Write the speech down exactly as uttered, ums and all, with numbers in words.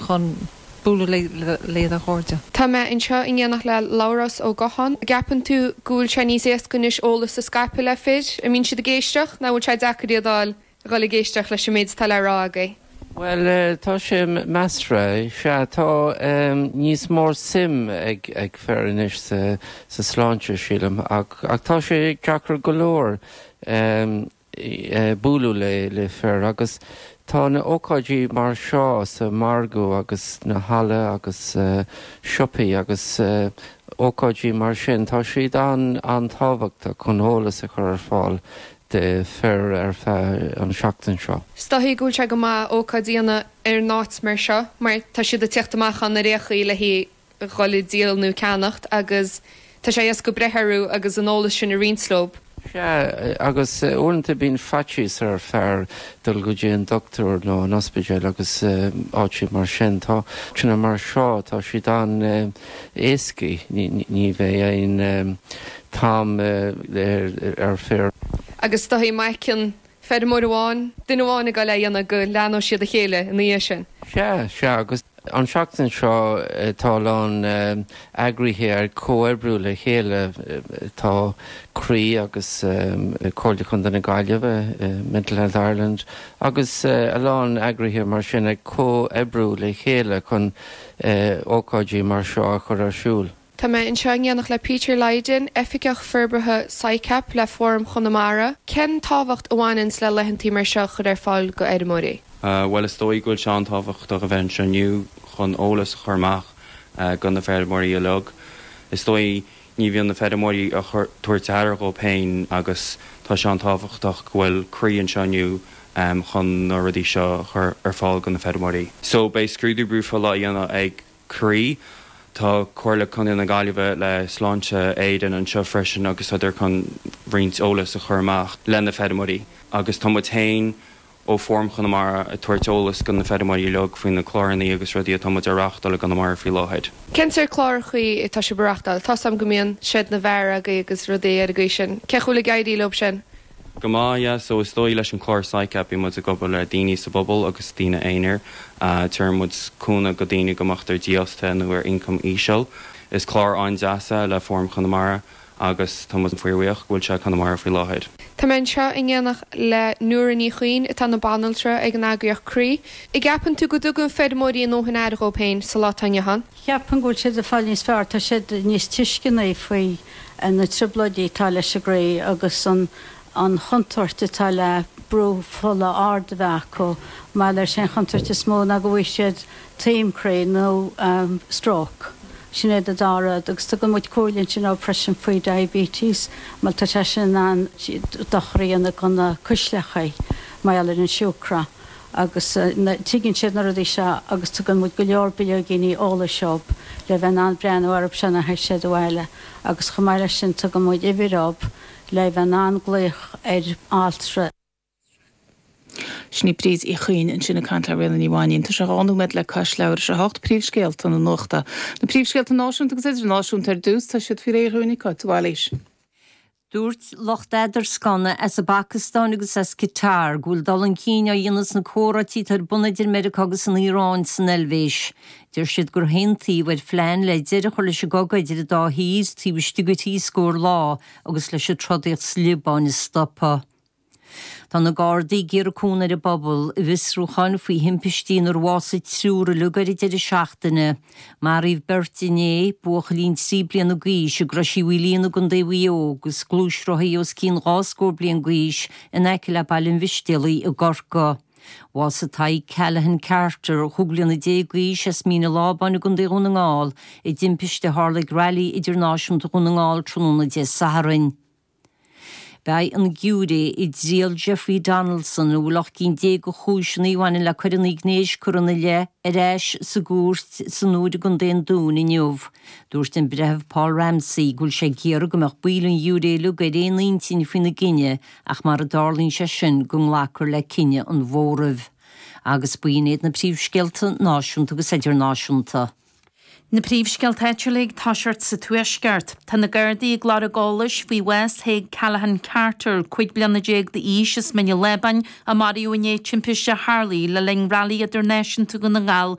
chun bualadh le do chairde. Tá mé anseo in éineacht le Labhrás Ó Gocháin. Ceapann tú go bhfuil sé níos éasca anois eolas a scaipeadh le fir, an mbíonn siad ag éisteacht nó bhfuil sé deacair iad a fháil dhul ag éisteacht leis an méid atá le rá agaibh. Well uh, tá sé measartha sé tá um, níos mór suim ag ag fir anois sa, sa sláinte sílim ach, ach tá sé deacair go leor um, e, bualadh le le fir agus tá na ócáidí mar seo sa margadh agus na halla agus uh, siopaí agus uh, ócáidí mar sin tá siad an an-tábhachtach chun eolas a chur ar fáil do fir ar feadh an seachtain seo. Is dóigh go bhfuil sé go maith ócáid a dhéanamh ar an áit mar seo, mar tá siad ag teacht amach an na réchaí le hí dul díol nó ceannacht agus tá sé éasca breith orthu agus an eolas sin a roinnt leo. Sea agus uaireanta bíonn faitíos ar fear dul go dtí an dochtúir nó an ospidéal agus áit mar sin tá tuna mar seo tá siad an éasca ní bheidh aon tam ar fir. Agus tá maicin feirmeoir amháin, duine amháin ag dul a dhéanamh go leanfaidh siad a chéile ina dhiaidh sin. Sea sea agus an seachtain seo tá lán eagraithe ar comhoibriú le chéile tá Croí agus Comhairle Chontae na Gaillimhe Mental Health Ireland agus a lán eagraithe mar sin ag comhoibriú le chéile chun ócáidí mar seo a chur ar siúl. Tá mé anseo in éineacht le Peter Lydon, Oifigeach Forbartha SICAP le Fóram Chonamara. Cén tábhacht a bhaineann le laethanta mar seo chur ar fáil go fheirmeoirí? Uh, well is dóigh go bhfuil sé an-tábhachtach a bheith anseo inniu chun eolas a chur amach uh, go na feirmeoirí uilig. Is dóigh ní bhíonn na feirmeoirí a tabhairt aire dóibh féin agus tá sé an-tábhachtach go bhfuil Croí anseo inniu um, chun na rudaí seo chur ar fáil go na feirmeoirí. So beidh scrúdú brú fola á dhéanamh ag Croí, Tá Comhairle Contae na Gaillimhe le Sláinte Éireann anseo freisin agus idir chun roinnt eolas a chur amach le na feirmeoirí. Agus tá muid féin ó Fóram Chonamara ag tabhairt eolas go na feirmeoirí uilig faoi na cláranna agus rudaí atá muid a reáchtáil i gConamara faoi láthair. Cén sórt cláracha atá sibh a reáchtáil, Tá am go mbíonn seid na bhfear agaibh agus rudaí ar an gcaoi sin. Cén chaoi ag éirí leo sin? Go maith yeah, so is dóigh leis an chlár SICAP bíonn muid ag obair le daoine sa bpobal agus daoine aonair. Uh, Tugann muid cúnamh go daoine go mbeadh dífhostaithe nó ar ioncam íseal. Is clár an-deas é le Fóram Chonamara agus tá muid fíorbhuíoch go bhfuil sé Conamara faoi láthair. Tá mé anseo in éineacht le Nóra Ní Chuinn atá ina banaltra ag an eagraíocht Croí. An gceapann tú go dtugann feirmeoirí a ndóthain aire dóibh féin sa lá atá inniu ann? Ceapaim go bhfuil siad ag fáil níos fearr tá siad níos tuisceanaí faoi na trioblóidí atá leis an gcroí agus an an chontúirt atá le brú fola ard a bheith acu mar leis an chontúirt is mó ná go bhfaighidh siad taom croí nó um, stroke. Sin é dá rud agus tugann muid comhairle sin á freisin faoi diabetes, mar tá sé sin an dochar a dhéanamh go na cuisleacha mar ar an siúcra. agus uh, tuigeann siad na rudaí seo agus tugann muid go leor bileoigíní eolais dóibh le bheith in ann breathnú orthu sin a siad abhaile agus chomh maith leis sin tugann muid uimhir dóibh le bheith in ann glaoch ar altra. Sin í Bríd Uí Chuinn ansin ag caint le Ríona Ní Mhainín Tá sé dhá nóiméad le cois leathuair tar éis a hocht príomhscéalta na nuachta. Na príomhscéalta náisiúnta agus idirnáisiúnta ar dtús tá siad faoi réir dhúinn Cáit Bhailís. Dúirt lucht eadarscanna as an bPacastáin agus as Qatar go bhfuil dul chun cinn á dhéanamh sna comhráití ar bun idir Meiriceá agus an Iaráin san Eilvéis. Deir siad gur aontaíodh ar phlean le deireadh a chur leis an gcogadh idir an dá thír taobh istigh de trí scór lá agus leis an trodaíocht sa Liobáin a stopadh. Tá na Gardaí ag iarraidh cúnamh ar an bpobal i bhfiosrúcháin faoi thimpistí inar bhásaigh triúr uilig ar an deireadh seachtaine. Maraíodh beirt inné buachaillín trí bliana d'aois i gCrois Uí Mhaoilíona i gContae Mhaigh Eo agus gluaisrothaí os cionn dhá scór bliain d'aois in aice le Baile an Mhistéalaigh i gCorcaigh. Bhásaigh Tadhg Callahan Carter chúig bliana déag d'aois as Mín an Lábáin i gContae Dhún na nGall i dtimpiste a tharla ag Railí Idirnáisiúnta Dhún na nGall tráthnóna Dé Sathairn. Beidh an giúiré i dtriail Jeffrey Donaldson a bhfuil ocht gcinn déag de chúiseanna a bhaineann le coireanna gnéis curtha ina leith ar ais sa gcúirt san Iúir i gContae an Dúin inniu. Dúirt an breitheamh Paul Ramsey go bhfuil sé ag iarraidh go mbeadh baill an ghiúiré uilig ar aon intinn faoina gcinneadh ach mara dtarlaíonn sé sin go nglacfar le cinneadh an mhóraimh. Agus b'in iad na príomhscéalta náisiúnta agus idirnáisiúnta. Na príomhscéalta áitiúla ag toiseacht sa Tuaisceart. Tá na Gardaí ag lorg eolais faoi bhás Thaidhg Callahan Carter, cúig bliana déag d'aois as Mín an Lábáin a maraíodh inné timpiste a tharla le linn Railí Idirnáisiúnta Dhún na nGall